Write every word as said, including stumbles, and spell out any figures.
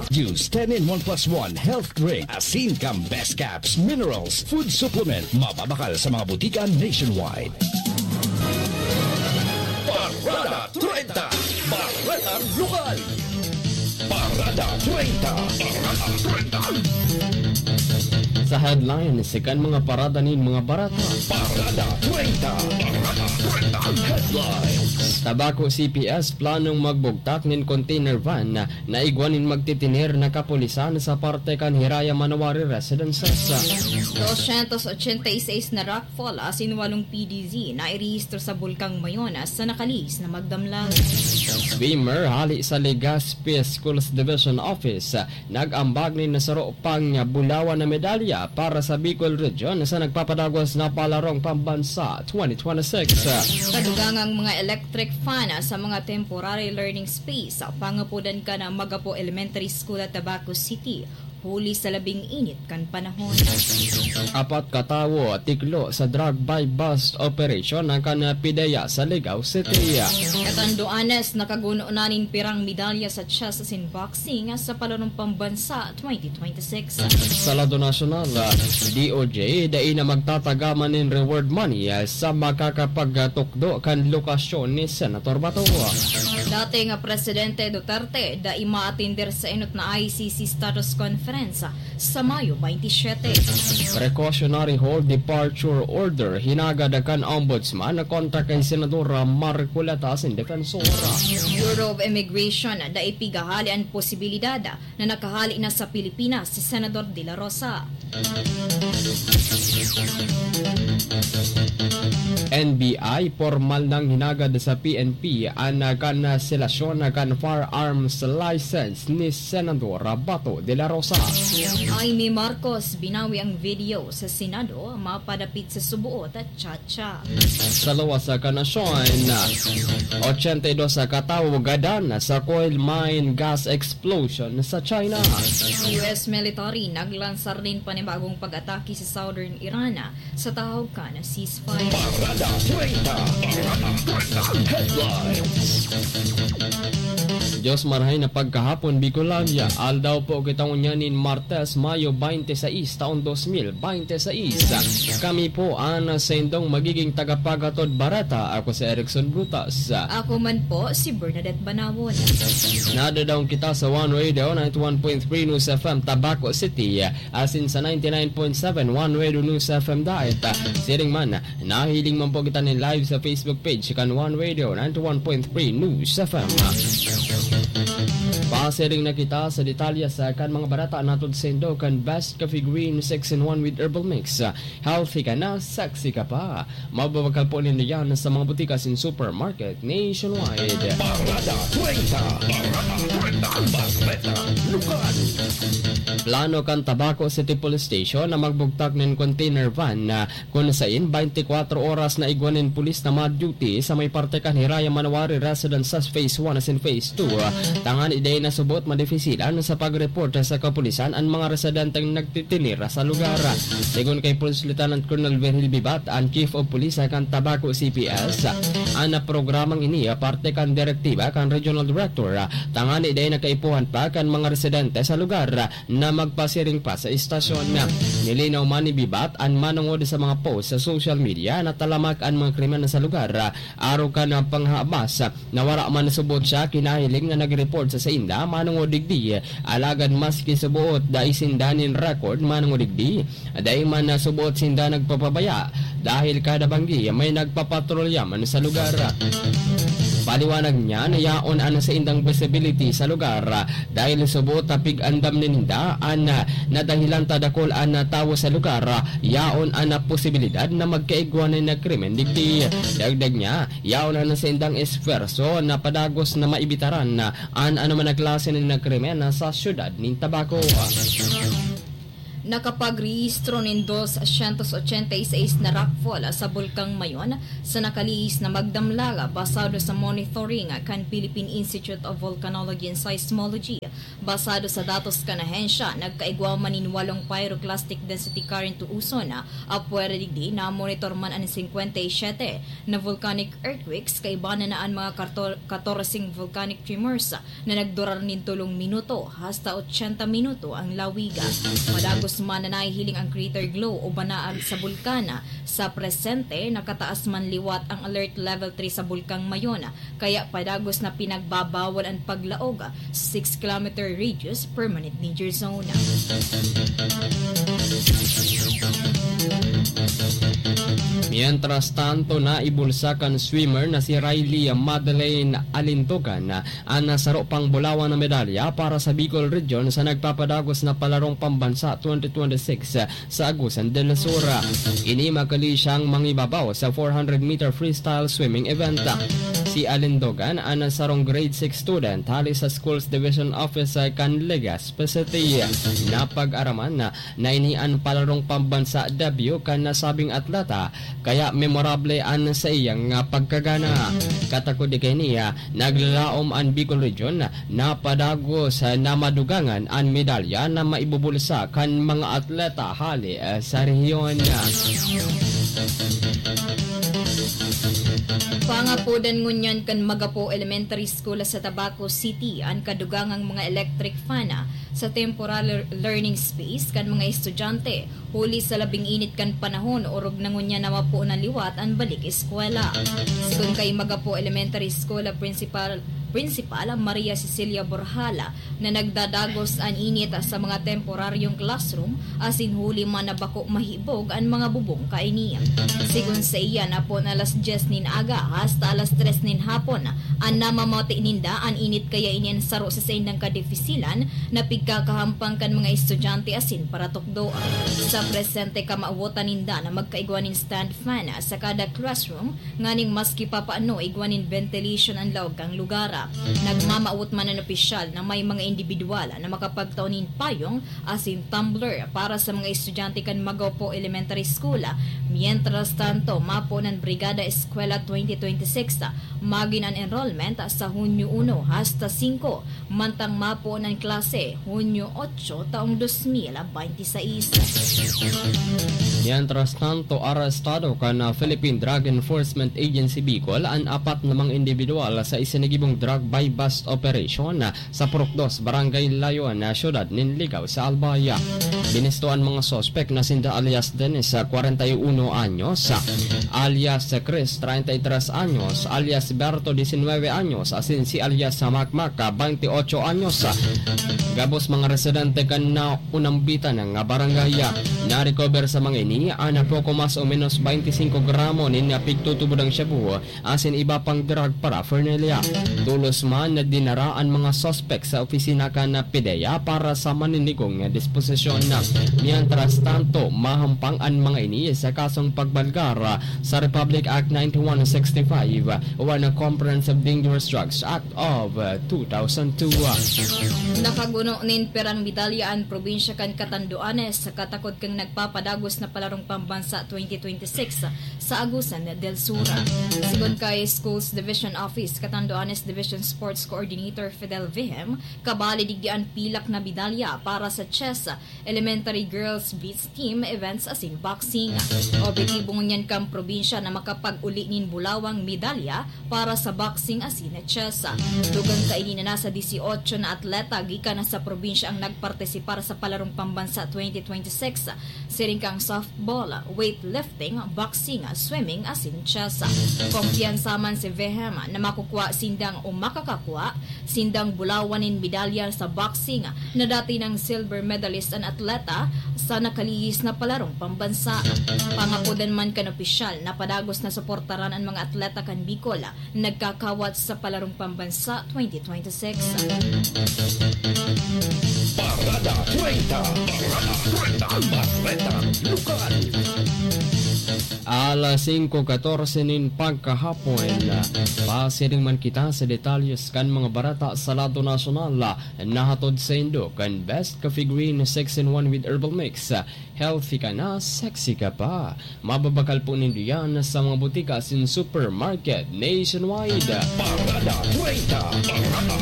Juice, ten in one plus one, health drink, asin kan best caps, minerals, food supplement, mababakal sa mga butika nationwide. Parada treinta, Bareta Lokal. Parada treinta, Parada treinta. Sa headlines kan mga parada nin mga bareta. Parada treinta, Parada treinta headlines. Tabaco C P S planong magbugtak nin container van na igwa nin magtitiner na kapulisan sa parte kan Hiraya Manawari Residences. Doscientos ochenta y seis na rockfall asin walong P D Z na irehistro sa Bulkang Mayon sa nakalihis na magdamlag. Swimmer hali sa Legazpi Schools Division Office nag-ambag nin saro pang bulawan na medalya para sa Bicol Region sa nagpapadagos na Palarong Pambansa twenty twenty-six. Kadugangang mga electric fan sa mga temporary learning space, pangapodan kan Magapo Elementary School at Tabaco City, huli sa labing init kan panahon. Apat ka tawo tiklo sa drug buy-bust operation na kan PDEA sa Ligao City. Katanduanes, nakaguno na nin pirang medalya sa chess asin boxing sa Palarong Pambansa twenty twenty-six. Sa lado nasyonal, D O J dai na magtatagaman nin reward money sa makakapagtukdo kan lokasyon ni Senator Bato. Dating Presidente Duterte dai maatender sa enot na I C C Status Conference sa Mayo twenty-seven. Precautionary hold departure order hinagad kan Ombudsman kontra kay Senadora Marcoleta asin Defensor. Bureau of Immigration dai pigahali an posibilidad na nakahali na sa Pilipinas si Senador De La Rosa. N B I, pormal nang hinagad sa P N P an kanselasyon kan firearms license ni Senador Bato de la Rosa. Imee Marcos, binawi ang video sa Senado, mapadapit sa suboot at chat. Sa lawas sa kanasyon, ochenta y dos katawo gadan sa coal mine gas explosion sa China. U S military naglansar nin panibagong pag-atake sa southern Iran sa tahog kan ceasefire. Parada treinta, Parada treinta headlines. Diyos marahay na pagkahapon, Bicolandia. Aldaw po kita ngunyan nin Martes, Mayo twenty-six, taon dos mil twenty-six. Kami po an saindong magiging tagapaghatod bareta. Ako si Erickson Brutas. Ako man po, si Bernadette Banawon. Nadadaong kita sa One Radio ninety-one point three News F M Tabaco City, asin sa ninety-nine point seven One Radio News F M Daet. Siring man, nahiling man po kita nin live sa Facebook page kan One Radio ninety-one point three News F M. Pasiring na kita sa detalye sa kan mga bareta na hatod saindo kan Best Coffee Green six in one with Herbal Mix. Healthy ka na, sexy ka pa. Mababakal po nindo yan sa mga butika asin supermarket nationwide. Parada treinta, Parada treinta, Bareta Lokal. Plano kan Tabaco City Police Station na magbugtak nin container van na kun sain twenty-four oras na igwa nin pulis na ma-duty sa may parte kan Hiraya Manawari Residences Phase one asin Phase two, tangani dai na subot madefisilan sa pag-report sa kapulisan an mga residenteng nagtitinira sa lugar. Segun kay Police Lieutenant Colonel Virgil Bibat, an Chief of Police kan Tabaco C P S, an programang ini parte kan direktiba kan Regional Director, tangani dai na kaipuhan pa kan mga residente sa lugar na magpasiring pa sa istasyon. Nilinaw man ni Bibat an manongod sa mga post sa social media na talamak an mga krimen sa lugar, arog kan panghabas na wara man subot siya kinahiling na nag-report sa sainda manongod digdi, alagad maski subot dai sinda nin record manongod digdi, dai man subot sinda nagpapabaya dahil kada banggi may nagpapatrolya man sa lugar. Paliwanag niya na yaon an saindang visibility sa lugar dahil subot na pig-andam ninda an nadahilan ta dakul an tawo sa lugar, yaon an posibilidad na magkaigwa na krimen digdi. Dagdag niya, yaon an saindang esfuerso na padagos na maibitaran an anoman na klase na krimen sa siyudad nin Tabaco. Nakapagrehistro nin dos syentos ochenta y seis na rockfall sa Bulkang Mayon sa nakalihis na magdamlag, basado sa monitoring kan Philippine Institute of Volcanology and Seismology. Basado sa datos kan ahensya, nagkaigwa man nin walong pyroclastic density current o uson. Apwera digdi, namonitor man an singkwenta y siyete na volcanic earthquakes, kaiba na an mga karto-, katorseng volcanic tremors na nagdurar nin tolong minuto hasta ochenta minuto ang lawig. Padagos man na nahihiling ang crater glow o banaag sa bulkan. Sa presente, nakataas man liwat ang Alert Level three sa Bulkang Mayon, kaya padagos na pinagbabawal ang paglaog sa six kilometer radius permanent danger zone. Mientras tanto, naibulsa kan swimmer na si Riley Madeleine Alintogan an saro pang bulawan na medalya para sa Bicol Region sa nagpapadagos na Palarong Pambansa twenty twenty-six sa Agusan del Sur. Ini makali siyang mangibabaw sa four hundred meter freestyle swimming event. Si Alindogan, an sarong grade six student hali sa Schools Division Office kan Legazpi City, napag-araman na ini an Palarong Pambansa debut kan nasabing atleta, kaya memorable an saiyang pagkagana. Katakod di kaini, naglalaom an Bicol Region na padagos na madugangan an medalya na maibubulsa kan mga atleta hali sa rehiyon. Pangapodan ngunyan kan Magapo Elementary School sa Tabaco City an kadugangang mga electric fan sa temporary learning space kan mga estudyante, huli sa labing init kan panahon, orog na ngunyan na mapoon na liwat an balik eskwela. Sigon kay Magapo Elementary School Principal, Principal Maria Cecilia Borjala, na nagdadagos an init sa mga temporaryong classroom, asin huli man na bako mahibog an mga bubong kaini. Sigon sa iya, napon alas dyes nin aga hasta alas tres nin hapon an namamati ninda, an init kaya ini an saro sa saindang kadifisilan na pigkakahampang kan mga estudyante asin paratukdo. Sa presente, kamawotan ninda na magkaigwa nin stand fan sa kada classroom, nganing maski papaano igwa nin ventilation an laog kan lugar. Nagmamawot man an opisyal na may mga indibidwal na makapagtao nin payong asin tumbler para sa mga estudyante kan Magopo Elementary School. Mientras tanto, mapoon an Brigada Eskwela twenty twenty-six. Magin an enrollment sa Hunyo uno hasta singko, mantang mapoon an klase Hunyo otso taong dos mil bente y seis. Mientras tanto, arestado kan Philippine Drug Enforcement Agency Bicol an apat na mga indibidwal sa isinagibong drug buy-bust operation sa Purok Dos, Barangay Layon, siyudad nin Ligao sa Albay. Binisto an mga suspek na sinda alias Dennis, kwarenta y uno anyos, alias Chris, treinta y tres anyos, alias Berto, diecinueve anyos, asin si alias Makmak, bente ocho anyos. Gabos mga residente kan naunambitan nga barangay. Na-recover sa mga ini an poko mas o menos bente singko gramo nin pigtutubod ang shabu asin iba pang drug paraphernalia. Tolos man na dinara an mga suspek sa opisina kan PDEA para sa maninigong disposisyon. Mientras tanto, mahampang an mga ini sa kasong pagbalgar sa Republic Act ninety-one sixty-five o an Comprehensive Dangerous Drugs Act of two thousand two. Nakaguno nin perang medalya an probinsya kan Catanduanes sa katakod kan nagpapadagos na Palarong Pambansa twenty twenty-six sa Agusan del Sur. Sigon kay Schools Division Office, Catanduanes Division Sports Coordinator Fidel Vihem, kabali digdi an pilak na medalya para sa chess, elementary girls beach team events asin boxing. Objetibo ngunyan kan probinsya na makapag-uli nin bulawang medalya para sa boxing asin chess. Dugang kaini na nasa dieciocho na atleta gikan sa probinsya ang nagpartisipar sa Palarong Pambansa twenty twenty-six, siring kan softball, weightlifting, boxing, swimming, asin chess. Kumpiyansa man si Vehem na makukua sindang o makakakua sindang bulawan nin medalya sa boxing na dati nang silver medalist an atleta sa nakalihis na Palarong Pambansa. Pangapodan man kan opisyal na padagos na suportaran an mga atleta kan Bicol nagkakawat sa Palarong Pambansa twenty twenty-six. Parada treinta. Parada treinta. Bareta Lokal. Alas singko katorse nin pagkahapon. Pasiring man kita sa detalyes kan mga bareta sa lado nasyonal. Nahatod saindo kan Best Coffee Green six in one with Herbal Mix. Healthy ka na, sexy ka pa. Mababakal po nindo yan sa mga butika asin supermarket nationwide. Parada treinta, Parada